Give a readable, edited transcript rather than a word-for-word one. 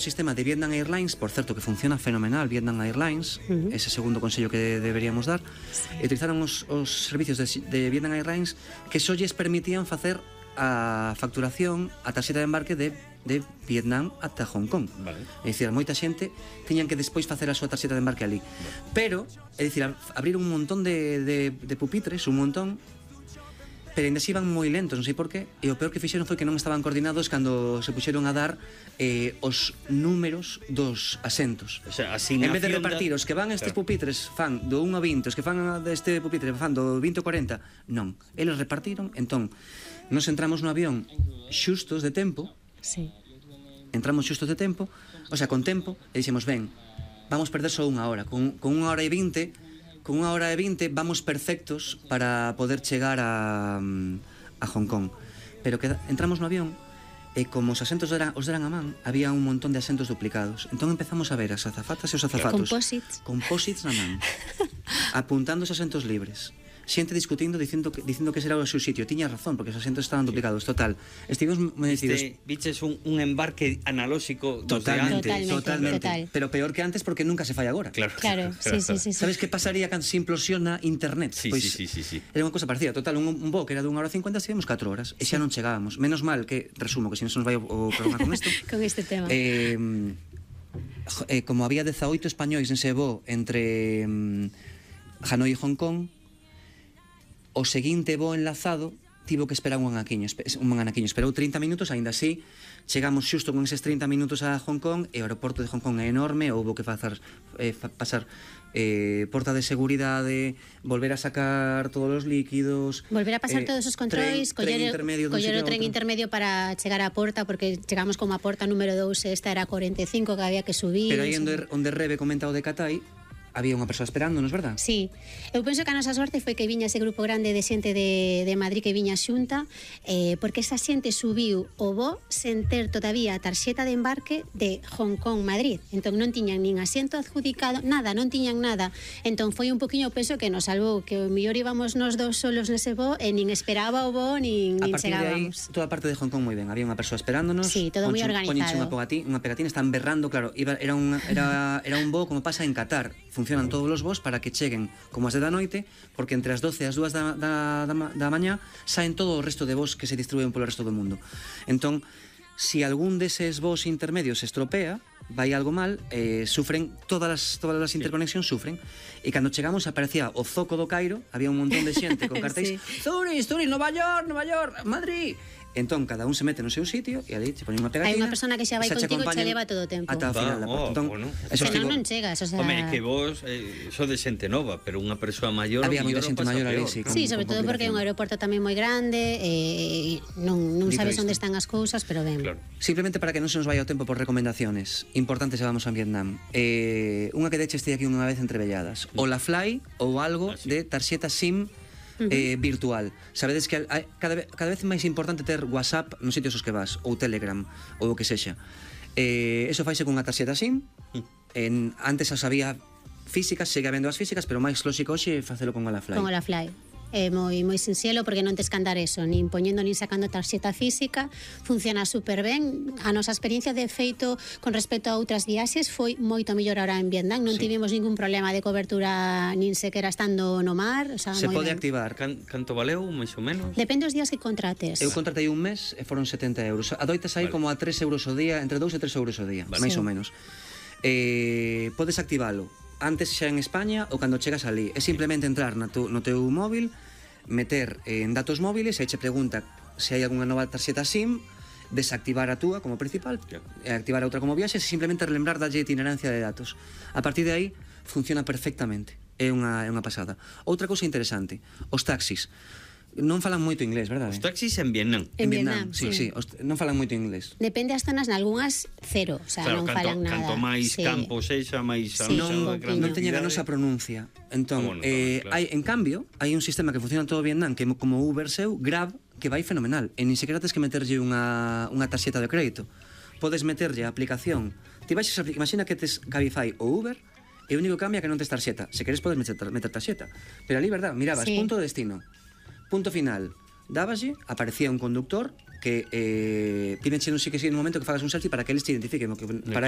sistema de Vietnam Airlines, por certo que funciona fenomenal Vietnam Airlines, ese segundo consello que deberíamos dar, e utilizaron os servicios de Vietnam Airlines que só lles permitían facer a facturación, a tarxeta de embarque de Vietnam ata Hong Kong. Vale. É dicir, moita xente tiñan que despois facer a súa tarxeta de embarque ali. Pero, é dicir, abrir un montón de pupitres, un montón, pero ainda se iban moi lentos, non sei por qué, e o peor que fixeron foi que non estaban coordinados cando se puxeron a dar os números dos asentos. O sea, en vez de repartir os que van estes pupitres fan do 1 a 20, os que fan deste pupitre fan do 20 a 40, non, eles repartiron. Entón, nos entramos no avión xustos de tempo. Sí. Entramos xustos de tempo, o sea, con tempo, e dixemos, ben, vamos perder só unha hora, con 1 hora e 20. Con 1 hora e 20 vamos perfectos para poder chegar a Hong Kong. Pero que entramos no avión e como os asentos os deran a man, había un montón de asentos duplicados. Entón empezamos a ver as azafatas e os azafatos composites na man, apuntando os asentos libres. Xente discutindo, dicindo que será o seu sitio. Tiña razón, porque os asentos estaban duplicados. Total, estivemos metidos. Viches un embarque analóxico. Totalmente. Total. Pero peor que antes, porque nunca se fai agora. Claro. Sí. Sabes que pasaría cando se implosiona internet? Sí. Era unha cosa parecida. Total, un voo que era de 1 hora e 50, estivemos 4 horas e xa non chegábamos. Menos mal que, resumo, que se non se nos vai o programa con isto. Con este tema. Como había 18 españois nese voo entre Hanoi e Hong Kong, o seguinte voo enlazado tivo que esperar un anaquiño. Esperou 30 minutos, aínda así chegamos xusto con eses 30 minutos a Hong Kong, e o aeroporto de Hong Kong é enorme, houbo que pasar porta de seguridade, volver a sacar todos os líquidos, volver a pasar todos os controis, coller o tren intermedio para chegar á porta, porque chegamos como a porta número 2, esta era 45 que había que subir. Pero aí onde Rebe comenta o de Catái, había unha persoa esperándonos, verdad? Sí, eu penso que a nosa sorte foi que viña ese grupo grande de xente de Madrid que viña xunta, porque esa xente subiu o voo sen ter todavía a tarxeta de embarque de Hong Kong Madrid. Entón non tiñan nin asiento adjudicado, nada, non tiñan nada. Entón foi un poquinho o peso que nos salvou, que o mellor íbamos nos dos solos nese voo e nin esperaba o voo nin chegábamos. A partir de aí, toda a parte de Hong Kong moi ben, había unha persoa esperándonos. Sí, todo moi organizado. Poñenche unha pegatina, están berrando, claro, era un voo como pasa en Qatar. Funcionan todos os voos para que cheguen como as de da noite, porque entre as 12 e as 2 da mañá saen todo o resto de voos que se distribuen polo resto do mundo. Entón, se algún deses voos intermedios se estropea, vai algo mal, sufren todas as interconexións sufren, e cando chegamos aparecía o zoco do Cairo, había un montón de xente con cartéis, Zurich, Nova York, Madrid. Entón, cada un se mete no seu sitio e ali se pone unha pegatina. Hai unha persona que xa vai contigo e che leva todo o tempo. Ata o final da porta. Entón, senón non chegas, o sea... Home, que vos sodes xente nova, pero unha persoa maior... Había moita xente maior ali, sí. Sí, sobre todo porque é un aeroporto tamén moi grande, non sabes onde están as cousas, pero ben. Simplemente para que non se nos vaya o tempo por recomendaciones importantes se vamos a Vietnam. Unha que deche este aquí unha vez entrevelladas. O la Fly ou algo de tarxeta SIM virtual. Sabedes que cada vez máis importante ter WhatsApp nos sitios os que vas, ou Telegram, ou o que sexa. Eso faise cunha tarxeta SIM. Antes as había físicas, segue habendo as físicas, pero máis lóxico hoxe é facelo con la Fly. Con la Fly. É moi sinxelo, porque non tes que andar eso, nin poñendo nin sacando tarxeta física, funciona super ben. A nosa experiencia de feito con respecto a outras viaxes foi moito mellor ahora en Vietnam, non tivemos ningún problema de cobertura nin sequera estando no mar, o sea, se pode ben. Activar. Canto valeu, máis ou menos? Depende dos días que contrates. Eu contratei un mes e foron 70 euros. Adoitas aí como a 3 euros o día, entre 2 e 3 euros o día, máis ou menos. Podes activalo antes xa en España ou cando chegas ali. É simplemente entrar no teu móvil, meter en datos móviles, e che pregunta se hai algunha nova tarxeta SIM, desactivar a túa como principal, e activar a outra como viaxe, e simplemente relembrar dalle itinerancia de datos. A partir de aí funciona perfectamente. É unha pasada. Outra cousa interesante, os taxis. Non falan moito inglés, verdade? Os taxis en Vietnam. En Vietnam, sí. Non falan moito inglés. Depende das zonas, nalgunhas cero, o sea, non falan nada. Canto máis campo sexa, máis... Non teñen a nosa pronuncia. Entón, en cambio, hai un sistema que funciona en todo Vietnam, que como Uber seu, Grab, que vai fenomenal. E nin sequera tes que meterlle unha tarxeta de crédito. Podes meterlle a aplicación. Imagina que tes Cabify ou Uber, e o único que cambia que non tes tarxeta. Se queres podes meter tarxeta. Pero ali, verdad, mirabas, punto de destino, punto final, dábaslle, aparecía un conductor que pídenche non sei que sí no momento que fagas un selfie para que eles te identifiquen, que para claro.